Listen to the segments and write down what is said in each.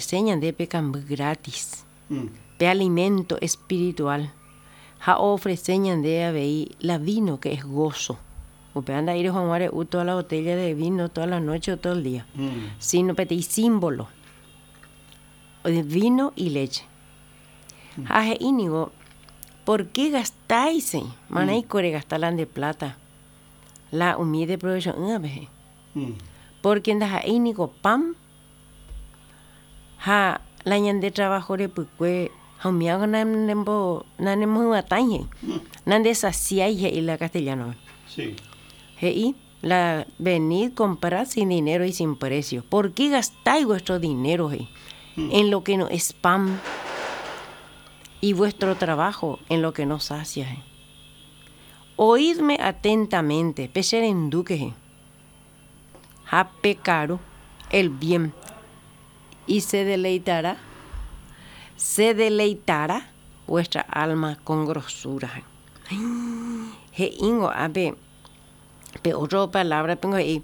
Ofrece ñande pe kamby gratis, pe alimento espiritual, ha oofrece ñande avei la vino que es gozo. Upéva nda'éi reho hag̃ua re'u toda la botella de vino toda la noche o todo el día, sino peteĩ símbolo de vino y leche. Ha he'i ningo, Por qué gastáis? Marãiko regasta la nde plata la umi ideprovecho'ỹvape he'i. Pórke ndaha'éi niko pan ha la ñande trabajo repykue ha umíva nanemohyvatãi he'i, nandesasiái he'i la castellano-pe. He'i la venid comprad sin dinero y sin precio, por qué gastáis vuestro dinero he'i en lo que no es pan y vuestro trabajo en lo que no sacia he'i. Oídme atentamente, pecherendúke he'i. Ha pekaru el bien y se deleitará, se deleitará vuestra alma con grosura. He'íngo ápe pe otro palabra pengo he'i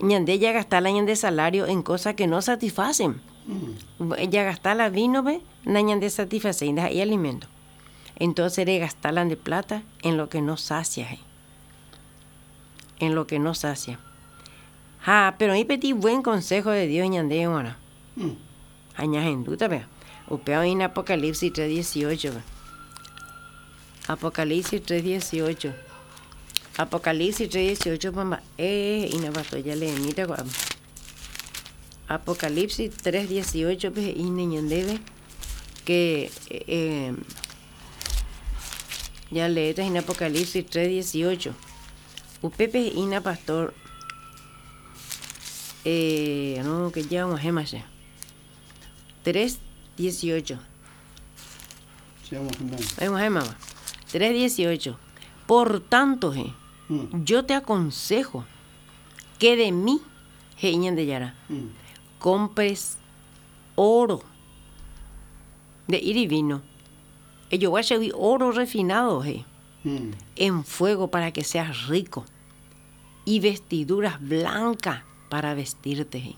ñande jagasta la ñande salario en cosa que no satisfacen. Jagasta la vino-pe nañandesatisfacéi, ndaha'éi alimento. Entonces regasta la nde plata en lo que no sacia, he'i. En lo que no sacia. Ha pero oĩ peteĩ buen consejo de Dios ñandéve g̃uarã. Ha ñahendúta péva. Upéva oĩ en Apocalipsis 3:18-pe. Apocalipsis 3:18. Apocalipsis 3:18-pe mba'e he'ína pastor jaleemíta ko'ápe. Apocalipsis 3:18-pe he'íne ñandéve que jaleéta hína Apocalipsis 3:18. Upépe he'ína pastor no que ya og̃uahẽma che. 3:18. Og̃uahẽmava. 3:18. Por tanto, he'i, yo te aconsejo que de mí, he'i Ñandejára, compres oro, nde'íri vino, ejogua chegui oro refinado, he'i, en fuego para que seas rico, y vestiduras blancas para vestirte, he'i,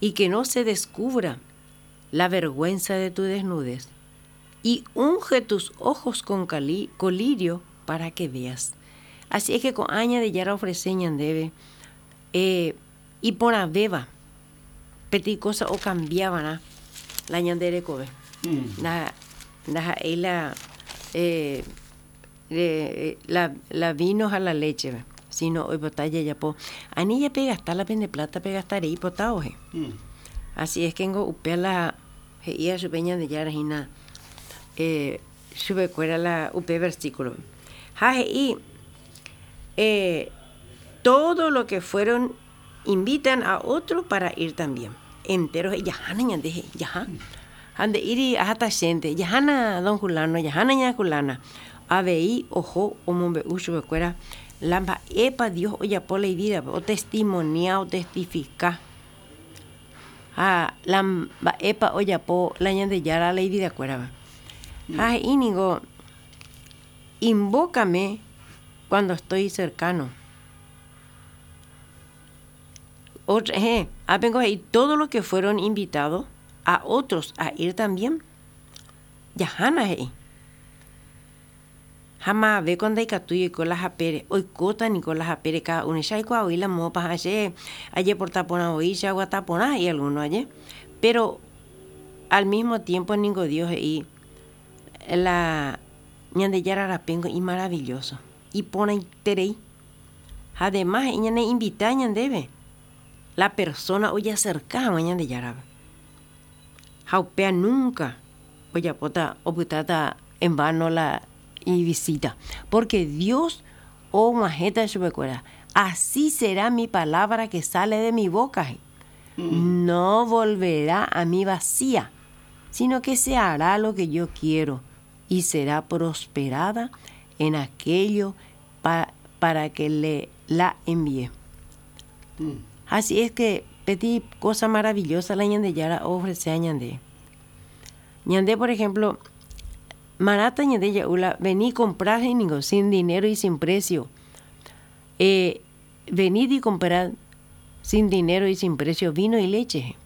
y que no se descubra la vergüenza de tu desnudez, y unge tus ojos con colirio para que veas. Así es que ko'ã Ñandejára ofrece ñandéve eh, iporãvéva peteĩ cosa okambiavarã la ñande rekove. Nda, ndaha'éi la eh, la, la vino ha la leche, sino oipota jajapo. Ani japegasta la pende plata pegasta rei potávo he. Así es que ngo upéva la he'íva chupe Ñandejára hína eh, chupekuéra la upe versículo. Ha he'i eh, todo lo que fueron invitan a otro para ir también. Entero he'i jahána ñande he'i, jaha. Ha nde'íri aháta chénte, jahána don Julano, jahána ña Julana. Avei oho omombe'u chupekuéra la mba'épa Dios ojapo la ivídape, otestimonia, otestifika. Ha la mba'épa ojapo la Ñandejára la ividakuérava. Ha he'i ningo, Invócame cuando estoy cercano. Otra, heẽ, ápengo he'i todo lo que fueron invitados a otros a ir también. Jahána he'i. Ha maavéko ndaikatúi oiko la hapére, oikóta niko la hapére káda uno. Che aikuaa voi la moõpa ha che ajeporta porã voi, che aguata porã he'i algúno aje. Péro al mísmo tiémpo ningo Dios he'i la Ñandejára rapéngo imaravilloso, iporãiterei. Ha además he'i ñaneinvita ñandéve la persóna ojaserka hag̃ua Ñandejárape. Ha upéva núnka ojapóta opytáta en vano la ivisíta, pórke Dios og̃uahẽta chupekuéra, Así será mi palabra que sale de mi boca, he'i, no volverá a mí vacía, sino que se hará lo que yo quiero y será prosperada en aquello para que le la envié. Así es que peteĩ cosa maravillosa la Ñandejára oofrecea ñande. Ñande, por ejemplo, marãta ñande ja'u la vení comprad he'i ningo, sin dinero y sin precio. Eh, venid y comprad sin dinero y sin precio vino y leche.